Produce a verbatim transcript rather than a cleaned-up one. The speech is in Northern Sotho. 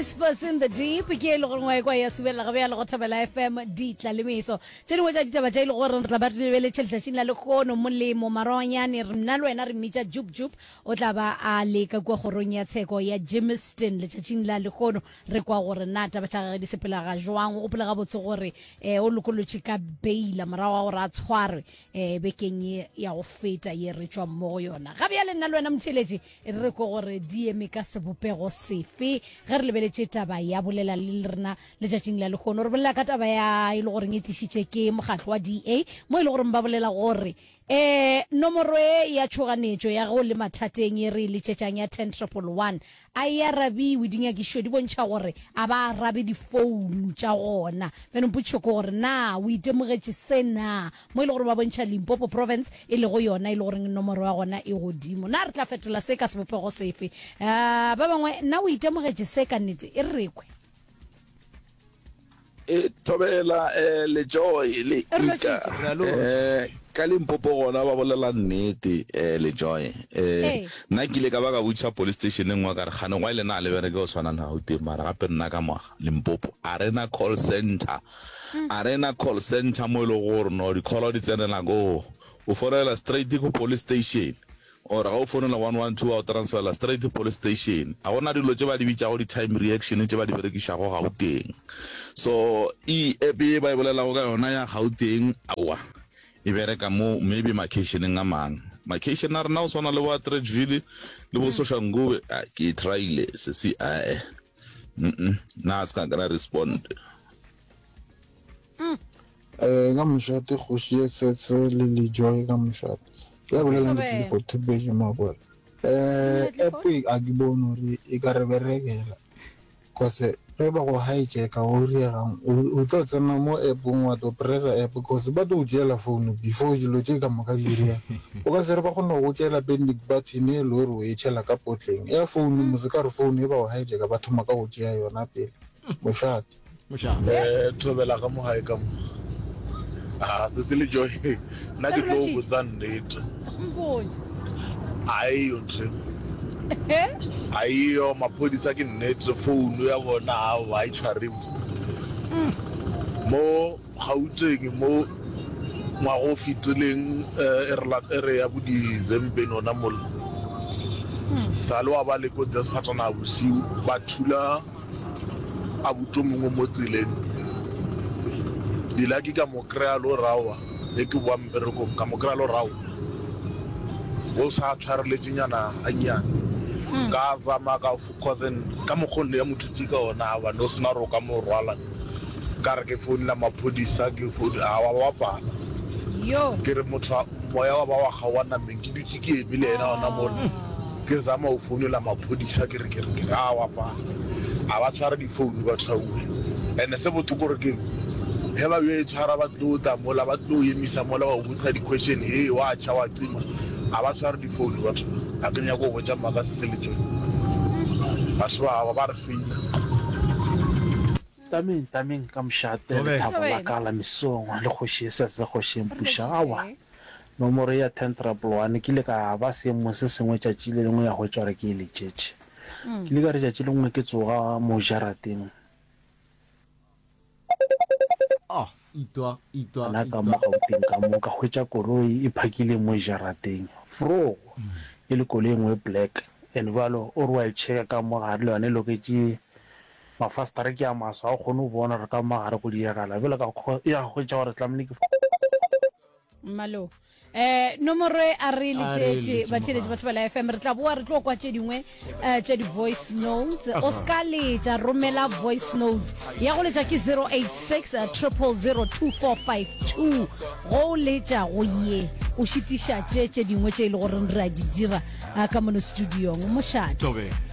Whispers in the Deep ke e le gore ngwa ekwa ya subelela gabe ya le go Thobela F M ditla le meso. Tše dingwe tša ditaba tše e le gore re tla ba re di lebeletše letšatšing la lehono, Molemo Marwanyane, re nna le wena re mmitša Jup Jup, o tla ba a le ka kua kgorong ya tsheko ya Germiston letšatšing la lehono. Re kwa gore na taba tša gagwe di sepela ga jwang. O gopole gabotse gore um o lokolotše ka beila morago ga gore a tshwarwe um bekeng ye ya go feta ye re tšwang mo go yona. Ga bjale nna le wena motheeletši re ko gore di eme ka sebopego sefe ge re lebeletše taba ya bolela le rena letšatšing la lehono. Re bolela ka taba ya e le goreng e tlišitše ke mokgatlo wa D A, mo e le goreng ba bolela gore um nomoro e ya tšhoganetšo ya go le mathateng e re e letšetšang ya ten triple one a e arabiwe. Dinyakišo di bontšha gore a ba arabe difounu tša gona. Bjano mpotšišo ke gore na o itemogetše se na, mo e le gore ba bontšha Limpopo province e lego yona e le goreng nomoro ya gona e godimo. Na re tla fetola se ka sebopego sefe? um ba bangwe, na o itemogetše se ka nnete? E re rekwe. E thobela eh, le Joy le Re Ika. lotšhitše. Re a lotšha. Eh, ka Limpopo gona ba bolela nnete eh, le Joy. Eh, Ee. nna ke ile ka ba ka botšiša police station e nngwe ka re kgane gwa ile na le bereke go tshwana le Gauteng, mara gape nna ka mo Limpopo a re na call center, a re na call center mo e lego gore no di-call di tsenela koo, o founela straight ko police station or ga o founela one one two wa o transferela straight police station. A gona dilo tše ba di bitšago di-time reaction tše ba di berekišago Gauteng. So e app ye ba e bolelago ka yona ya Gauteng, aowa, e bereka mo maybe makeišeneng a mang. Makeišene a rena go swana le bo Atteridgeville le bo Soshanguve, ah, ke e tryile sesi, ae, mm nna a se ka kry respond. Eh ka mošate, kgoši ye setse le le Joy, ka mošate ya bolelang ke Thobela. Clifford Thubetše Makwela. eh app e a ke bone gore e ka re berekela, cause ge ba go hijacka go riegang, o o tlo tsena mo appong wa to pressa app, cause ba tlo o tšeela phone before dilo tše ka moka di direga. O ka se re ba kgone go tšeela panic button e le gore o e tšhela ka potleng ya phone mose, ka re phone e ba go hijacka ba thoma ka go tšea yona pele. Mošate. Mošate. Eh thobela ka mo gae ka mo. Ah, se le Joy, nna ke Re tlo lotšhitše. botsa nnete. Mpotše. Aiyo ntho aiyo, maphodisa ke nnete, phone ya bona aowa a e tshwariwe mo Gauteng. Mo ngwaga o fetileng eh, e re la- e re ya bo Decembeng ona mola sa le wa ba le kotsi ya sefatanaga bosiu, ba thula abuti o mongwe mo tseleng. Dilaki ka mo kry-a le o rawa e ke boa mmerekong, ka mo kry-a le o rawa o sa tshwareletšenyana gannyane. Ka zama ka cause ka mokgwa o nne ya mothuti ka ona a bane o sena gore o ka mo rwala. Ka re ke founela maphodisa, ke foune a wa ba pala. Yo. Ke re motho a- moya wa ba wa kgaoga nameng, ke dutše ke eme le yena ona mola, ke zama go founela maphodisa, ke re ke re ke re a wa pala, a ba tshware difounu batho auwe. And se bohloko gore ke ge ba yo e tshwara, ba tlo tla mola, ba tlo emisa mola, ba o botsisa di-question, he wa tšha wa cima, a ba tshware difounu batho. A ke nyako go botša maaka, se se le tsone batho ba ba re feila. Tameng, tameng ka mošate. Thobela. Lethabo la Thobela. ka la mesong le kgoši e sese kgoši e Re mpuša. Aowa, lotšhitše. nomoro ya ten triple one ke ile ka ba seemong se sengwe tšatši le lengwe ya hwetša gore ke e letšetše. Ke ile ka re tšatši lengwe ke tsoga mo jarateng Oh, itwa, itwa, gona ka mo itwa. Gauteng ka mo, ka hwetša koloi e phakile mo jarateng, vrou, e le koloi e nngwe black, and bjalo o re wa e checka ka mo gare le yona e loketše, mafastere ke a maso, ga o kgone go bona gore ka mo gare go diragala. Bjale ka ya hwetša gore tlamehile ke Mmalo eh nomoro e a re A re letšetše letše batheeletši mogala. batho ba la F M. Re tla boa re tlo kwa tše dingwe eh, tša di-voice notes. O ska letša, romela voice note ya go letša ke zero eight six triple zero two four five two. Go o letša go ye o šitiša tše tše dingwe tše e le goreng re a di dira ah, ka mono studiong. Mošate. Thobela.